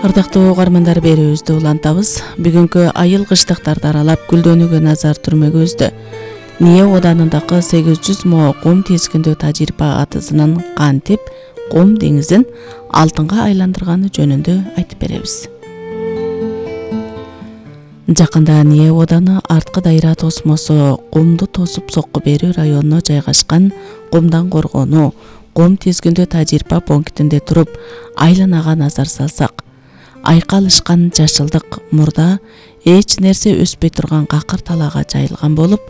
Ырдактуу угармандар, берүүбүздү улантабыз. Бүгүнкү айыл кыштыктарды аралап гүлдөнүүгө назар түрмөгүбүздө НИЭ оданындагы 800 мо кум тизгиндөө тажрыйба атысынын кантип кум деңизин алтынга айландырганы жөнүндө айтып беребиз. Жакында НИЭ оданы арткы дайра тосмосу кумду тосуп сокку берүү районуна жайгашкан кумдан коргонуу кум тизгиндөө тажрыйба пунктинде туруп айланага назар салсак, айкалышкан жашылдык мурда эч нерсе өспөй турган какыр талаага жайылган болуп,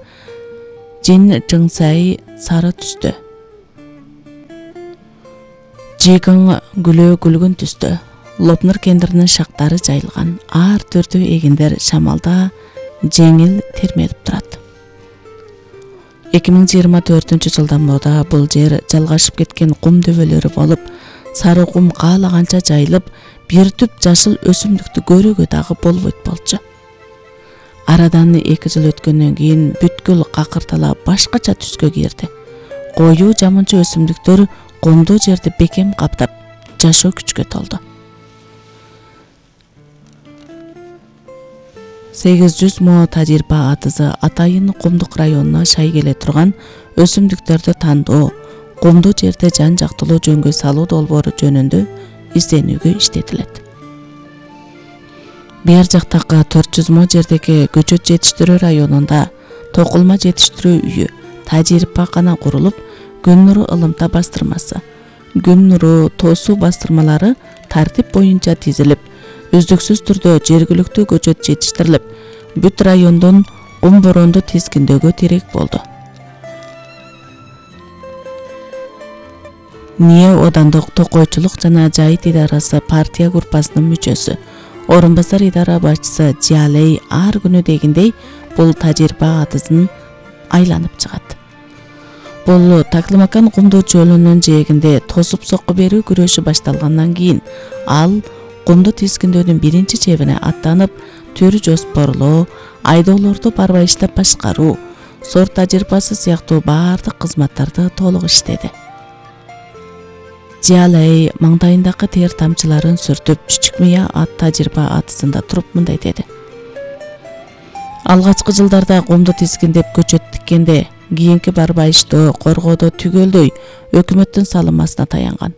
жыңсайы сары түстө, жыйгың гүлөө күлгүн түстө, лопнур кендиринин шактары жайылган, ар түрдүү эгиндер шамалда жеңил термелип турат. 2024-жылдан бери бул жер жалгашып кеткен кум дөбөлөрү болуп, сары кум каалаганча жайылып, бир түп жашыл өсүмдүктү көрүүгө дагы болбойт болчу. Арадан 2 жыл өткөндөн кийин бүткүл какыр тала башкача түскө кирди. Коюу жамынчы өсүмдүктөр кумдуу жерди бекем каптап, жашоо күчкө толду. 800 мо тажрыйба атысы атайын кумдук районуна шай келе турган өсүмдүктөрдү тандоо, кумдуу жерде жан жактылуу жөнгө салуу долбоору жөнүндө изденүүгө иштетилет. Бер жактагы 400 мо жердеги көчөт жетиштирүү районунда токулма жетиштирүү үйү, тажрыйбакана курулуп, күн нуру ылымта бастырмасы, күн нуру тосуу бастырмалары тартип боюнча тизилип, үздүксүз түрдө жергиликтүү көчөт жетиштирилип, бүт райондон кум боронду тизгиндөөгө тирек болду. НИЭ одандык токойчулук жана жайыт идарасы партия группасынын мүчөсү, орун басар идара башчысы Жиалей ар күнү дегендей бул тажрыйба атысын айланып чыгат. Бул Таклымакан кумдуу чөлүнүн жээгинде тосуп сокку берүү күрөшү башталгандан кийин ал кумду тизгиндөөнүн биринчи чебине аттанып, төр жоспорлоо, айдоолорду барбайыштап башкаруу, сорт тажрыйбасы сыяктуу баардык кызматтарды толук иштеди. Жиалей маңдайындагы тер тамчыларын сүртүп, Чүчүк Мыя ат тажрыйба атысында туруп мындай деди. Алгачкы жылдарда кумду тизгиндеп көчөт тиккенде, кийинки барбайыштоо, коргоодо түгөлдөй өкмөттүн салымасына таянган.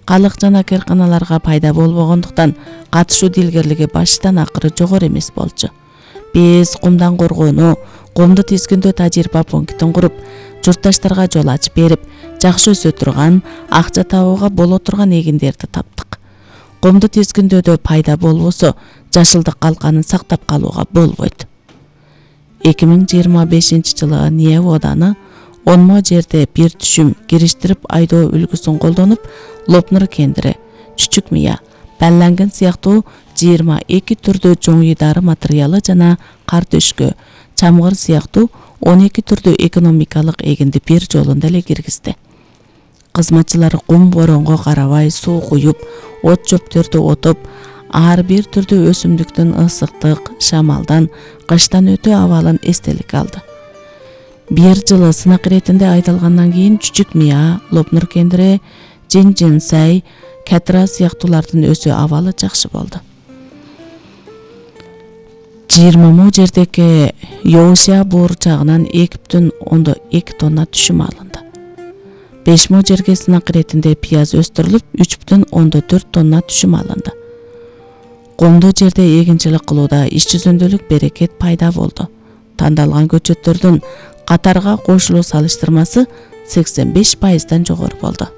Калык жана кыйрканаларга пайда болбогондуктан катышуу дилгерлиги баштан акыры жогору эмес болчу. Биз кумдан коргонуу, кумду тизгиндөө тажрыйба пунктин куруп, журтташтарга жол ачып берип, жакшы өсө турган, акча табууга боло турган эгиндерди таптык. Кумду тизгиндөөдө пайда болбосо, жашылдык калканын сактап калууга болбойт. 2025-жылы НИЭ оданы 10 мо жерде бир түшүм кириштирип айдоо үлгүсүн колдонуп, Лопнур кендири, Чүчүк Мыя, Баллангын сыяктуу 22 түрдүү жоңуй дары материалы жана кар төшкө, чамгыр сыяктуу 12 түрдүү экономикалык эгинди бир жолунда эле киргизди. Кызматчылар кум боронго карабай суу куюп, от чөптөрдү отоп, ар бир түрдүү өсүмдүктүн ысыктык, шамалдан, кыштан өтүү абалын эстеликке алды. Бир жыл сынак иретинде айдалгандан кийин Чүчүк Мыя, Лопнур кендири, жыңсай, катра сыяктуулардын өсүү абалы жакшы болду. 20 мо жердеги Йоушия буурчагынан 2,2 тонна түшүм алынды. 5 мо жерге сынак иретинде пияз өстүрүлүп, 3,4 тонна түшүм алынды. Кумдуу жерде эгинчилик кылууда иш жүзүндөлүк берекет пайда болду. Тандалган көчөттөрдүн катарга кошулуу салыштырмасы 85%-дан жогору болду.